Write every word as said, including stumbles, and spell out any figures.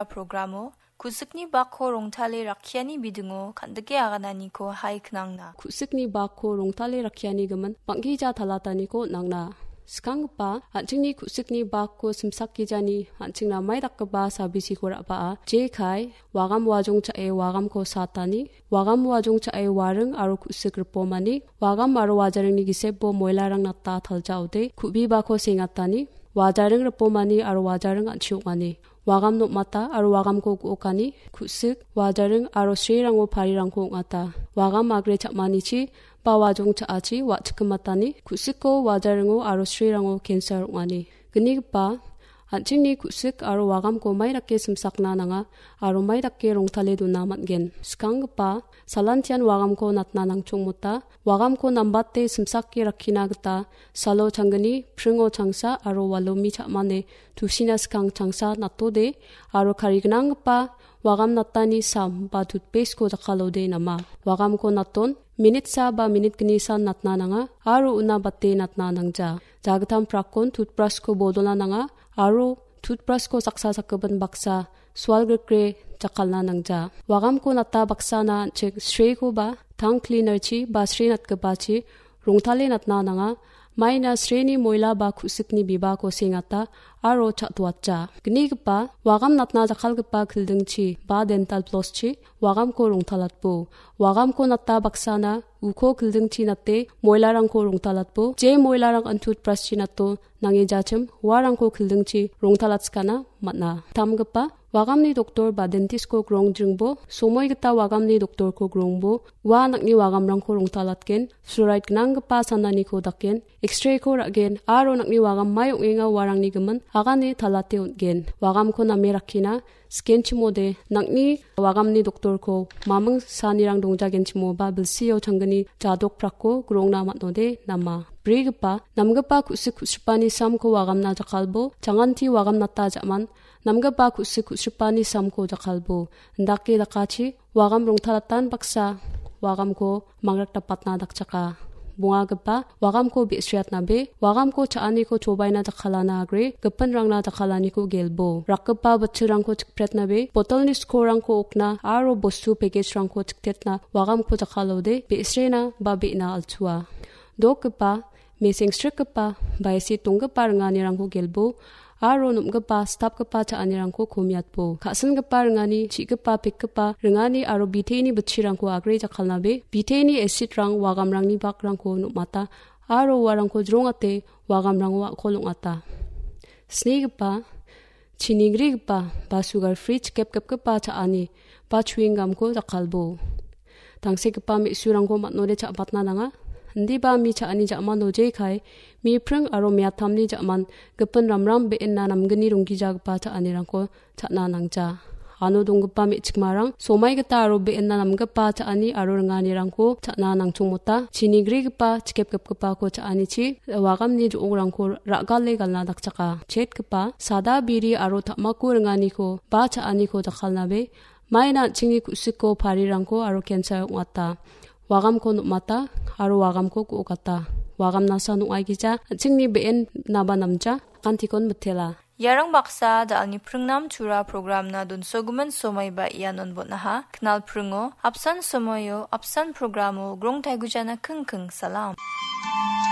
Programo ku·sikni bakko rongtale rakkiani bidingo kan·dike agananiko hai knangna. Ku·sikni bakko rongtale rakkiani gimin bang·gija talataniko on·angna. Skanggipa, an·chingni ku·sikni bakko simsakgijani an·chingna mai dakgipa sabisiko ra·baa. Jekai, wagam wajong cha·e wagamko satani, wagam wajong cha·e waring aro ku·sik ripomani, wagam aro wajaringni gisepbo moilarang nata taljaode, ku·bibako sengatani, wajaring ripomani aro wajaring an·chi ong·ani. Wagam nom·ata aro wagamko gu·okani, ku·sik, wajaring aro srirango parirangko ong·ata. Wagam agre cha·manichi ba wajong cha·achi wa·chikgimatani, ku·siko, wajaringo aro srirango cancer ong·ani. Gnigipa, an·chingni ku·sik aro wagamko mai dake simsakna nanga aro mai dake rongtale dona man·gen. Skanggipa, salantian wagamko natna nangchongmota, wagamko nambate simsake rakkina gita salo changgni, pringo changsa aro walomi cha·mane tusina skang changsa natode aro karignanggipa wagam natani sam ba tutpeskoo jakkalode nama. Wagamko naton, minit sa ba minit gni san natna nanga aro una bate natna nangja. Jagittam prakkon tutbrasko bodolna nanga aro tutbrasko saksa sakgipin baksa sual grikre jakkalna nangja. Wagamko nata baksana an·ching srekoba tang klinerchi ba sre natgipachi rongtale natna nanga. Maina sreni moila ba ku·sikni bibako sengata aro cha·toatja. Gnigipa, wagam natna jakkalgipa kildingchi ba dental floschi wagamko rongtalatbo. Wagamko nata baksana uko kildingchi nate moilarangko rongtalatbo. Je moilarang an tutbraschi nato nange jachim uarangko kildingchi rongtalatskana man·a. Tamgipa, wagamni doktor ba dentistko grongdringbo, somoi gita wagamni doktorko grongbo, ua nang·ni wagamrangko rongtalatgen, fluoride gnanggipa sananiko daken, X-rayko ra·gen, aro nang·ni wagam mai ong·enga uarangni gimin agane talate on·gen. Wagamko name rakkina, skenchimode, nang·ni wagamni doktorko maming sanirang dongjagenchimoba bilsio changgni jadok prakko grongna man·ode nama. Brigipa, namgipa ku·sik ku·sripani samko wagamna jakkalbo, janganti wagam nata ja·man, namgipa ku·sik ku·sripani samko jakkalbo. Indake dakachi, wagam rongtalatan baksa, wagamko mangrak dapatna dakchaka. Bongagipa, wagamko be·sriatnabe, wagamko cha·aniko chobaina jakkalana agre, gipinrangna jakkalaniko gelbo. Rakgipa bitchilrangko chikpretnabe, botolni skorrangko okna, aro bostu pekejrangko chiktetna, wagamko jakkalode, be·srena ba be·na alchua. Dokgipa, mesengsrikgipa, baisi tonggipa ringanirangko gelbo, aro nom·gipa, stapgipa cha·anirangko komiatbo. Ka·singipa ringani, chi·gipa, pekgipa ringani aro biteni bitchirangko agre jakkalnabe, biteni acid-rang wagamrangni bakrangko nom·ata, aro uarangko jrongate wagamrango a·kol ong·ata. Snigipa, chinigrigipa ba sugar free chikepgipgipa cha·ani ba chewing gum-ko jakkalbo. Tangsekgipa me·surangko man·ode cha·batna nanga. Indiba mi cha·ani ja·mano jekai, mi pring aro me·atamni ja·man gipin ramram be·enna namgni ronggijagipa cha·anirangko cha·na nangja. Ano donggipa me·chikmarang somai gita aro be·enna namgipa cha·ani aro ringanirangko cha·na nangchongmota. Chinigrigipa, chikepgipgipako cha·anichi wagamni jo·ongrangko ra·gale galna dakchaka. Chetgipa, sada biri aro ta·mako ringaniko ba cha·aniko jakkalnabe, maina an·chingni ku·siko parirangko aro cancer ong·ata. Wagamko nom·ata aro wagamko gu·okata. Wagam nasa nong·aigija an·chingni be·en naba namja, kantikon mitela. Iarang baksa da·alni pringnam tura programna donsogimin somaiba ianon bon·aha. Knal pringo, apsan somoio, apsan programo grong taigujana kingking salam.